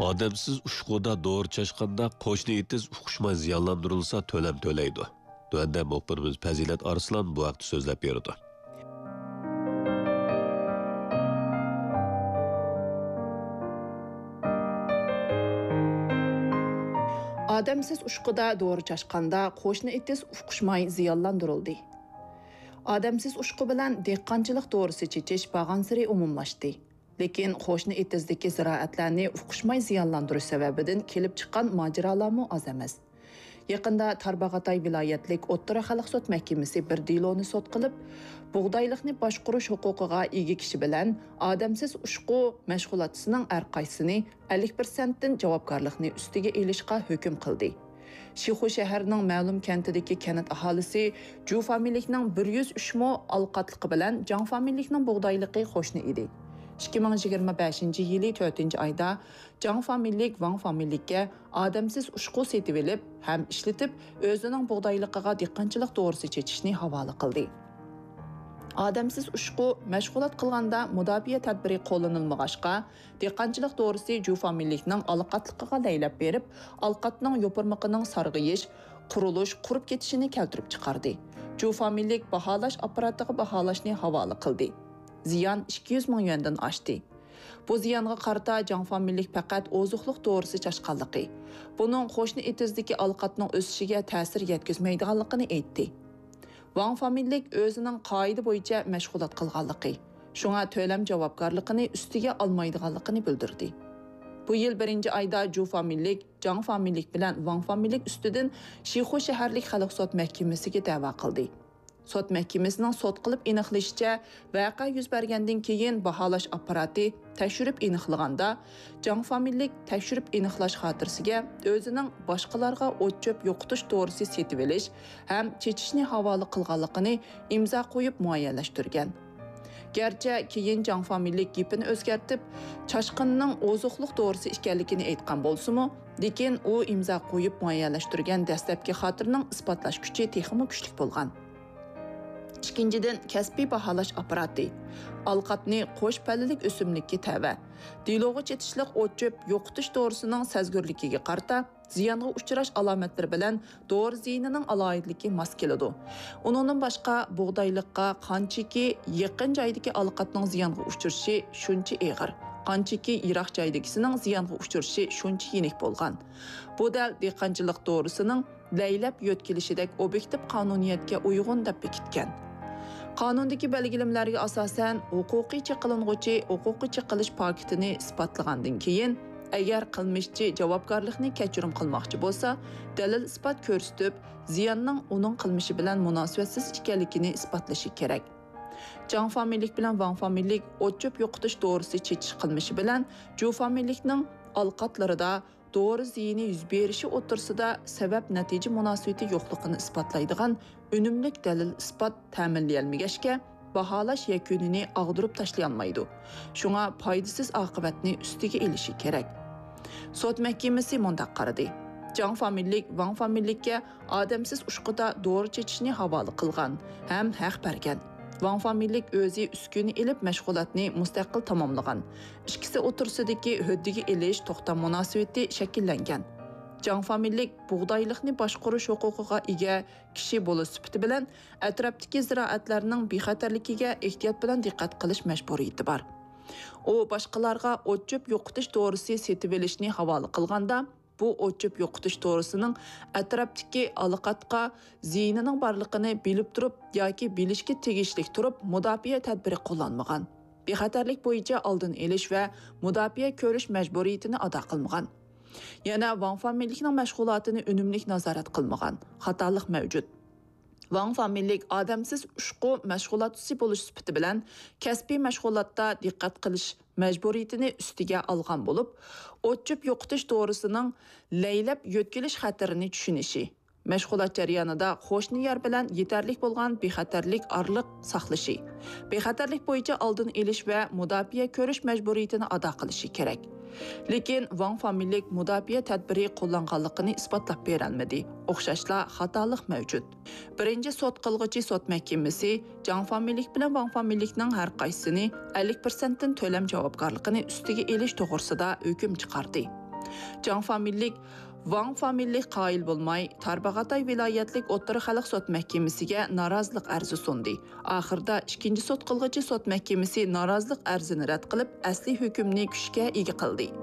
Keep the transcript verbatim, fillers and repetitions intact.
ئادەمسىز ئۇچقۇدا دورا چاچقاندا قوشنا ئېتىز ئۇقۇشماي زىيانلاندۇرۇلسا تۆلەم تۆلەيدۇ. تۆۋەندە مۇخبىرىمىز پەزىلەت ئارسلان بۇ ھەقتە سۆزلەپ بېرىدۇ. ئادەمسىز ئۇچقۇدا دورا چاچقاندا قوشنا ئېتىز ئۇقۇشماي زىيانلاندۇرۇلدى. ئادەمسىز ئۇچقۇ بىلەن دېھقانچىلىق دورىسى چېچىش بارغانسېرى ئومۇملاشتى. لېكىن قوشنا ئېتىزدىكى زىرائەتلەرنى ئۇقۇشماي زىيانلاندۇرۇش سەۋەبىدىن كېلىپ چىققان ماجىرالارمۇ ئاز ئەمەس. يېقىندا تارباغاتاي ۋىلايەتلىك ئوتتۇرا خەلق سوت مەھكىمىسى بىر دېلونى سوت قىلىپ، بۇغدايلىقنى باشقۇرۇش ھوقۇقىغا ئىگە كىشى بىلەن ئادەمسىز ئۇچقۇ مەشغۇلاتچىسىنىڭ ھەرقايسىسىنى ئەللىك پىرسەنتتىن جاۋابكارلىقنى ئۈستىگە ئېلىشقا ھۆكۈم قىلدى. شىخۇ شەھىرىنىڭ مەلۇم كەنتىدىكى كەنت ئاھالىسى جۇ فامىلىلىكنىڭ بىر يۈز ئۈچ مو ئالقاتلىقى بىلەن جاڭ فامىلىلىكنىڭ بۇغدايلىقى قوشنا ئىدى. ئىككى مىڭ يىگىرمە بەشىنچى يىلى تۆتىنچى ئايدا جاڭ فامىلىلىك ۋاڭ فامىلىلىككە ئادەمسىز ئۇچقۇ سېتىۋېلىپ ھەم ئىشلىتىپ، ئۆزىنىڭ بۇغدايلىقىغا دېھقانچىلىق دورىسى چېچىشنى ھاۋالە قىلدى. ئادەمسىز ئۇچقۇ مەشغۇلات قىلغاندا مۇداپىئە تەدبىرى قوللىنىلمىغاچقا، دېھقانچىلىق دورىسى جۇ فامىلىلىكنىڭ ئالقاتلىقىغا لەيلەپ بېرىپ، ئالقاتنىڭ يوپۇرمىقىنىڭ سارغىيىش، قۇرۇلۇش، قۇرۇپ كېتىشىنى كەلتۈرۈپ چىقاردى. جۇ فامىلىلىك باھالاش ئاپپاراتىغا باھالاشنى ھاۋالە قىلدى. زىيان ئىككى يۈز مىڭ يۈەندىن ئاشتى. بۇ زىيانغا قارىتا جاڭ فامىلىلىك پەقەت ئوزۇقلۇق دورىسى چاچقانلىقى، بۇنىڭ قوشنا ئېتىزدىكى ئالقاتنىڭ ئۆسۈشىگە تەسىر يەتكۈزمەيدىغانلىقىنى ئېيتتى. ۋاڭ فامىلىلىك ئۆزىنىڭ قائىدە بويىچە مەشغۇلات قىلغانلىقى، شۇڭا تۆلەم جاۋابكارلىقىنى ئۈستىگە ئالمايدىغانلىقىنى بىلدۈردى. بۇ يىل بىرىنچى ئايدا جۇ فامىلىلىك، جاڭ فامىلىلىك بىلەن ۋاڭ فامىلىلىك ئۈستىدىن شىخۇ شەھەرلىك خەلق سوت مەھكىمىسىگە دەۋا قىلدى. سوت مەھكىمىسىنىڭ سوت قىلىپ ئېنىقلىشىچە، ۋەقە يۈز بەرگەندىن كېيىن باھالاش ئاپپاراتى تەكشۈرۈپ ئېنىقلىغاندا، جاڭ فامىلىلىك تەكشۈرۈپ ئېنىقلاش خاتىرىسىگە ئۆزىنىڭ باشقىلارغا ئوت-چۆپ يوقىتىش دورىسى سېتىۋېلىش ھەم چېچىشنى ھاۋالە قىلغانلىقىنى ئىمزا قويۇپ مۇئەييەنلەشتۈرگەن. گەرچە كېيىن جاڭ فامىلىلىك گېپىنى ئۆزگەرتىپ، چاچقىننىڭ ئوزۇقلۇق دورىسى ئىكەنلىكىنى ئېيتقان بولسىمۇ، لېكىن ئۇ ئىمزا قويۇپ مۇئەييەنلەشتۈرگەن دەسلەپكى خاتىرىنىڭ ئىسپاتلاش كۈچى تېخىمۇ كۈچلۈك بولغان. ئىككىنچىدىن، كەسپىي باھالاش ئاپپاراتى ئالقاتنى قوش پەللىلىك ئۆسۈملۈككە تەۋە، دېلوغا چېتىشلىق ئوت-چۆپ يوقىتىش دورىسىنىڭ سەزگۈرلۈكىگە قارىتا زىيانغا ئۇچراش ئالامەتلىرى بىلەن دورا زىيىنىنىڭ ئالاھىدىلىكى ماس كېلىدۇ. ئۇنىڭدىن باشقا، بۇغدايلىققا قانچىكى يېقىن جايدىكى ئالقاتنىڭ زىيانغا ئۇچرىشى شۇنچە ئېغىر، قانچىكى يىراق جايدىكىسىنىڭ زىيانغا ئۇچرىشى شۇنچە يېنىك بولغان. بۇ دەل دېھقانچىلىق دورىسىنىڭ لەيلەپ يۆتكىلىشىدەك ئوبيېكتىپ قانۇنىيەتكە ئۇيغۇن دەپ بېكىتكەن. قانۇندىكى بەلگىلىمىلەرگە ئاساسەن، ھوقۇقىي چېقىلىنغۇچى ھوقۇقىي چېقىلىش پاكىتىنى ئىسپاتلىغاندىن كېيىن، ئەگەر قىلمىشچى جاۋابكارلىقنى كەچۈرۈم قىلماقچى بولسا، دەلىل-ئىسپات كۆرسىتىپ، زىياننىڭ ئۇنىڭ قىلمىشى بىلەن مۇناسىۋەتسىز ئىكەنلىكىنى ئىسپاتلىشى كېرەك. جاڭ فامىلىلىك بىلەن ۋاڭ فامىلىلىك ئوت-چۆپ يوقىتىش دورىسى چېچىش قىلمىشى بىلەن جۇ فامىلىلىكنىڭ ئالقاتلىرىدا دورا زىيىنى يۈز بېرىشى ئوتتۇرىسىدا سەۋەب-نەتىجە مۇناسىۋىتى يوقلۇقىنى ئىسپاتلايدىغان ئۈنۈملۈك دەلىل-ئىسپات تەمىنلىيەلمىگەچكە، باھالاش يەكۈنىنى ئاغدۇرۇپ تاشلىيالمايدۇ. شۇڭا پايدىسىز ئاقىۋەتنى ئۈستىگە ئېلىشى كېرەك. سوت مەھكىمىسى مۇنداق قارىدى: جاڭ فامىلىلىك ۋاڭ فامىلىلىككە ئادەمسىز ئۇچقۇدا دورا چېچىشنى ھاۋالە قىلغان ھەم ھەق بەرگەن. ۋاڭ فامىلىلىك ئۆزى ئۈسكۈنە ئېلىپ مەشغۇلاتنى مۇستەقىل تاماملىغان. ئىككىسى ئوتتۇرىسىدىكى ھۆددىگە ئېلىش توختام مۇناسىۋىتى شەكىللەنگەن. جاڭ فامىلىلىك بۇغدايلىقنى باشقۇرۇش ھوقۇقىغا ئىگە كىشى بولۇش سۈپىتى بىلەن ئەتراپتىكى زىرائەتلەرنىڭ بىخەتەرلىكىگە ئېھتىيات بىلەن دىققەت قىلىش مەجبۇرىيىتى بار. ئۇ باشقىلارغا ئوت-چۆپ يوقىتىش دورىسى سېتىۋېلىشنى ھاۋالە قىلغاندا، بۇ ئوت-چۆپ يوقىتىش دورىسىنىڭ ئەتراپتىكى ئالقاتقا زىيىنىنىڭ بارلىقىنى بىلىپ تۇرۇپ ياكى بىلىشكە تېگىشلىك تۇرۇپ مۇداپىئە تەدبىرى قوللانمىغان، بىخەتەرلىك بويىچە ئالدىنى ئېلىش ۋە مۇداپىئە كۆرۈش مەجبۇرىيىتىنى ئادا قىلمىغان. يەنە ۋاڭ فامىلىلىكنىڭ مەشغۇلاتىنى ئۈنۈملۈك نازارەت قىلمىغان خاتالىق مەۋجۇت. ۋاڭ فامىلىلىك ئادەمسىز ئۇچقۇ مەشغۇلاتچىسى بولۇش سۈپىتى بىلەن كەسپىي مەشغۇلاتتا دىققەت قىلىش مەجبۇرىيىتىنى ئۈستىگە ئالغان بولۇپ، ئوت-چۆپ يوقىتىش دورىسىنىڭ لەيلەپ يۆتكىلىش خەتىرىنى چۈشىنىشى، مەشغۇلات جەريانىدا قوشنا يەر بىلەن يېتەرلىك بولغان بىخەتەرلىك ئارىلىق ساقلىشى، بىخەتەرلىك بويىچە ئالدىنى ئېلىش ۋە مۇداپىئە كۆرۈش مەجبۇرىيىتىنى ئادا قىلىشى كېرەك. لېكىن ۋاڭ فامىلىلىك مۇداپىئە تەدبىرى قوللانغانلىقىنى ئىسپاتلاپ بېرەلمىدى. ئوخشاشلا خاتالىق مەۋجۇت. بىرىنچى سوت قىلغۇچى سوت مەھكىمىسى جاڭ فامىلىلىك بىلەن ۋاڭ فامىلىلىكنىڭ ھەر قايسىسىنى ئەللىك پىرسەنتتىن تۆلەم جاۋابكارلىقىنى ئۈستىگە ئېلىش توغرىسىدا ھۆكۈم چىقاردى. جاڭ فامىلىلىك، ۋاڭ فامىلىلىك قايىل بولماي، تارباغاتاي ۋىلايەتلىك ئوتتۇرا خەلق سوت مەھكىمىسىگە نارازىلىق ئەرزى سۇندى. ئاخىرىدا ئىككىنچى سوت قىلغۇچى سوت مەھكىمىسى نارازىلىق ئەرزىنى رەت قىلىپ، ئەسلىي ھۆكۈمنى كۈچكە ئىگە قىلدى.